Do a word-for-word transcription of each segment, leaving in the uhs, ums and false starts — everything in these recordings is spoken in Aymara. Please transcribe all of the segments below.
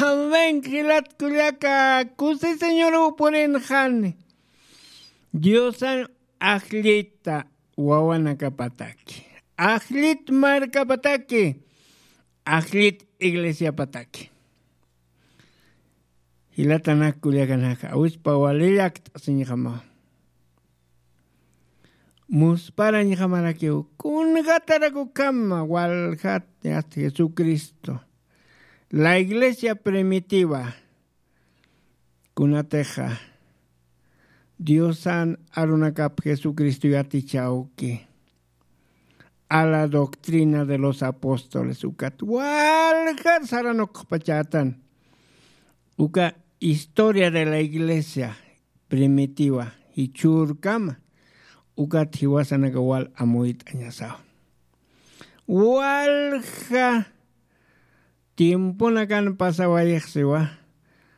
Amén. Jilat kullaka, kusi señoruw purinxani. Diosan ajllita wawanakapataki, ajllit markapataki, ajllit iglesiapataki. Jilatanak kullakanaka, awispa walillakt'asiñjama. Musparañjamarakiw kunjatarakukhama waljat, yasta jesucristo, la iglesia primitiva, kunatixa diosan arunakap jesucristo yatichawki, a la doctrina de los apóstoles ukat waljat saranuqpachatan. Uka historia de la iglesia primitiva jichhürkama, ukat jiwasanaka wal amuyt'añasaw. Walja tiemponakan pasawayixsiwa,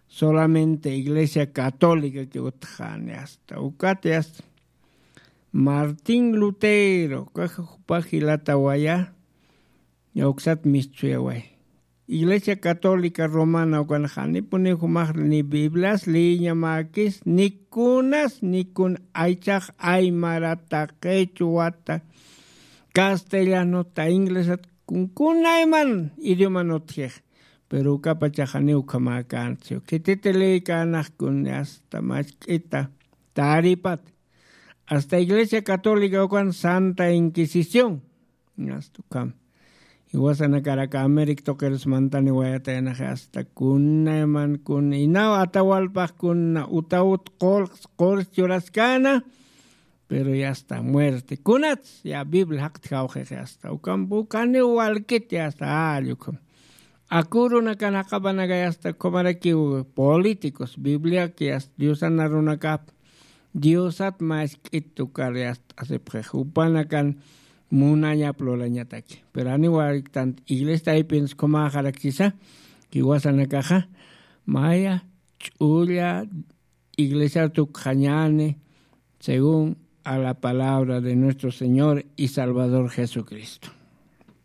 solamente iglesia católica que utxani asta ukati asta. Martín lutero kaja jupa jilatawaya, ñawksat mistsuyaway. Iglesia católica romana ukan janipuni jumax ni biblias liñamakis ni kunas ni kun aychax aymarata qechuwata, castellanota inglesat kun kunayman idioman utjix. Pero ukapachaxani ukhamäkäntsiw khititiliykänakun asta machk'ita taripat. Asta iglesia católica ukan santa inquisición. Asta ukham iwasanakarak americ tuqirsmantani wayatayanaxi asta kunayman kun inaw atawalpax kuna utawut qulqs qurs churaskäna. Pero ya asta muerte kunats ya biblia jaqtjawxixi asta ukamp ukaniw walkit ya asta alli ukham. Akurunakan jaqapanakay asta ukhamarakiw políticos bibliaki asta diosan arunakap diosat mask'it ukar yast'asipxix jupanakan munañap lulañataki. Pero janiw wariktant iglesia taypinskhumäxarakchisa jiwasanakaxa maya ch'ulla iglesiar tukxañäni según a la palabra de nuestro señor y salvador jesucristo.